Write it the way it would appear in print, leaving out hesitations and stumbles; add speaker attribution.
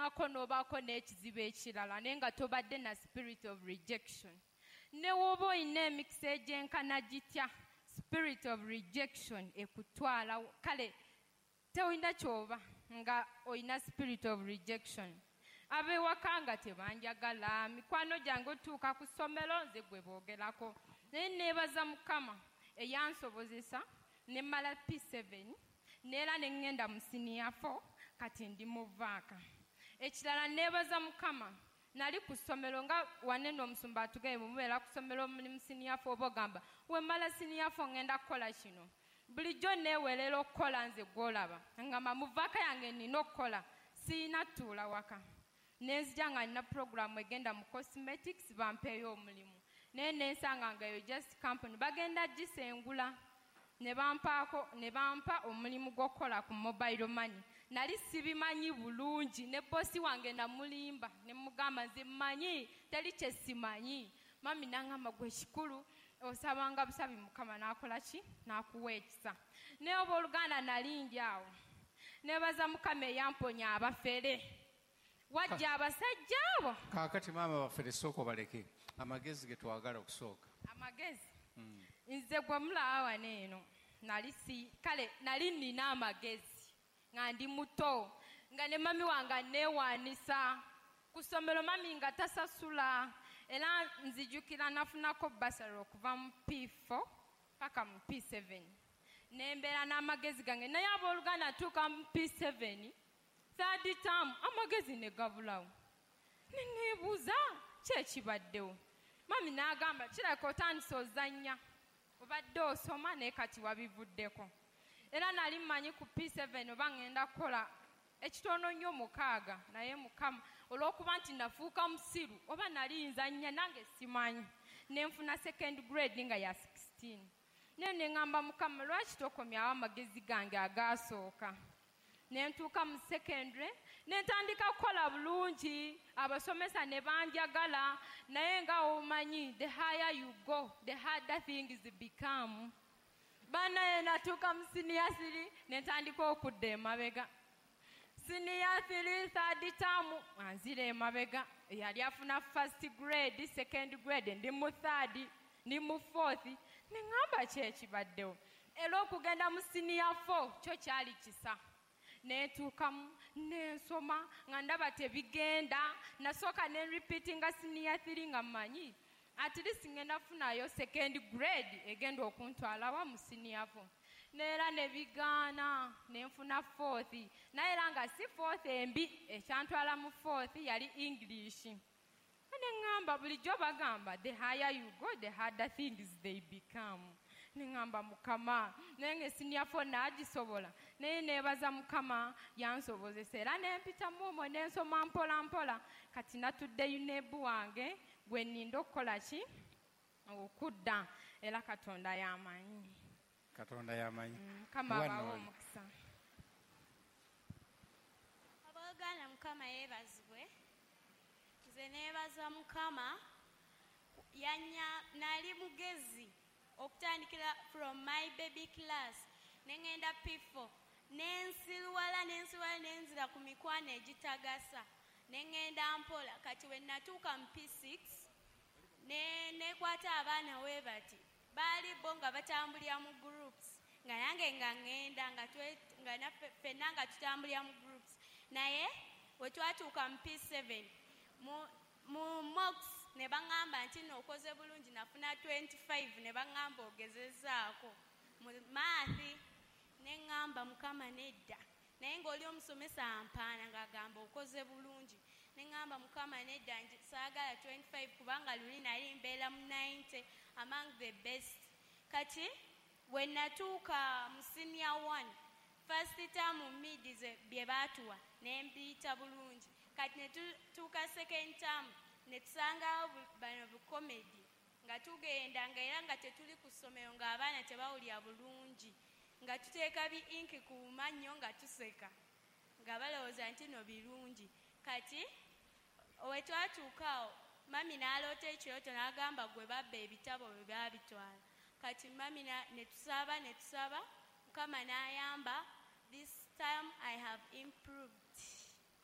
Speaker 1: N'ogezaako n'obaako n'ekizibu ekirala, naye nga tobadde na spirit of rejection. Ne woba olina emikisa egyenkana gitya, spirit of rejection ekutwala. Kale tewulina kyoba nga olina spirit of rejection. Ab'ewaka nga tebanjagala, mikwano gyange otuuka ku ssomero nze gwe boogerako. Naye neebaza Mukama eyansobozesa ne mmala P7, neera ne ŋŋenda mu senior 4, kati ndi mu vaaka. Ekirala neebaza Mukama, nali ku ssomero nga wanene omusumba atugaye bwe mubeera ku ssomero muli mu senior 4, oba ogamba we mmala senior 4 ŋŋenda kukola kino. Bulijjo neewerera okukola nze gw'olaba ngamba mu vaaka yange nina okukola, siyina ttuula waka. Nenzija nga nina puroguramu egenda mu cosmetics bampeeyo omulimu, naye nensanga nga eyo just company bagenda gisengula, ne bampaako ne bampa omulimu gw'okukola ku mobile money. Nali sibimanyi bulungi, ne bosi wange namulimba ne mugamba nze mmanyi, teri kye simanyi. Mami nangamba, gwe kikulu osabanga busabi, Mukama n'akola ki, n'akuwa ekisa. Naye oba oluganda nali ndi awo, nebaza Mukama eyamponya abafere. Wajja abasajja abo.
Speaker 2: Kaakati maama, bafere sooka obaleke, amagezi ge twagala okusooka.
Speaker 1: Amagezi, nze gwe mulaba wano eno, nali si kale nali nina amagezi nga ndi muto, nga ne mami wange aneewaanisa ku ssomero, mami nga tasasula. Era nzijukira nafunako bursary okuva mu P4 paka mu P7, nembeera n'amagezi gange. Naye abooluganda, ntuuka mu P7 third term, amagezi ne gabulawo. Neneebuuza kyekibaddewo. Mami n'agamba, kirabika otandise ozannya, obadde osoma naye kati wabivuddeko. Era nali mmanyi ku P7 oba ŋŋenda kukola ekitono nnyo 6, naye Mukama olw'okuba nti nafuuka musiru oba nali nzannya nange simanyi, nenfuna second grade nga ya 16. Naye neŋŋamba, Mukama, lwaki tokomyawo amagezi gange agaasooka? Nentuuka mu secondary nentandika kukola bulungi, abasomesa ne banjagala. Naye nga omanyi, the higher you go, the harder things become. Banaye natuuka mu senior 3 nentandika okudda emabega. Senior 3 third term anzira emabega. Yali afuna first grade, second grade, ndi mu third, ndi mu fourth. Neŋŋamba kyekibaddewo. Era okugenda mu senior 4 kyo kyali kisa. Netuukamu nensoma nga ndaba tebigenda. Nasooka ne repeatinga senior 3 nga mmanyi at least ngenda funayo second grade egenda okuntwalawa mu senior 4. Neera nebigaana, nenfuna fourth, naye era nga si fourth embi. Ekyantwala mu fourth yali English. Neŋŋamba bulijjo bagamba, the higher you go, the harder things they become. Neŋŋamba Mukama, naye nga senior 4 naagisobola. Naye neebaza Mukama yansobozesa, era nempitamu omwo nensoma mpola mpola. Kati natudde UNEB wange gwe nninda okukola ki, okudda. Era Katonda yamanyi.
Speaker 2: Katonda yamanyi.
Speaker 1: Mukama
Speaker 2: Mwana
Speaker 1: abawe
Speaker 2: oyo.
Speaker 1: omukisa.
Speaker 3: Abooluganda, Mukama yeebazibwe. Nze neebaza Mukama yanya nali mugezi okutandikira from my baby class, neŋŋenda P4, nensiruwala, nensiruwala, nenzira ku mikwano egitagasa, neŋŋenda mpola. Kati we natuuka mu P6 ne nekwata abaana we bati baali bo nga batambulira mu groups, nga nange nga ŋŋenda nga nga naffe ffenna nga tutambulira mu groups. Naye we twatuuka mu P7 mu mocks, ne baŋŋamba nti nno okoze bulungi. Nafuna 25, ne baŋŋamba ogezezaako mu math. Ne ŋŋamba, Mukama, nedda. Naye ng'oli omusomesa ampaana ng'agamba okoze bulungi. Ne ŋŋamba, Mukama, nedda, saagala 25, kubanga luli nali mbeera mu 90, among the best. Kati we natuuka mu senior 1 first term, mid bye baatuwa ne mbiyita bulungi. Kati ne tutuuka second term, ne tusangawo bano bukomedi nga tugenda, nga era nga tetuli ku ssomero, ng'abaana tebawulira bulungi, nga tuteeka bi inki ku mannyo nga tuseka, nga balowooza nti no birungi. Kati we twatuuka awo, mami n'aloota ekirooto n'agamba gwe babba ebitabo bwe baabitwala. Kati mami ne tusaba, ne tusaba, Mukama n'ayamba. This time I have improved.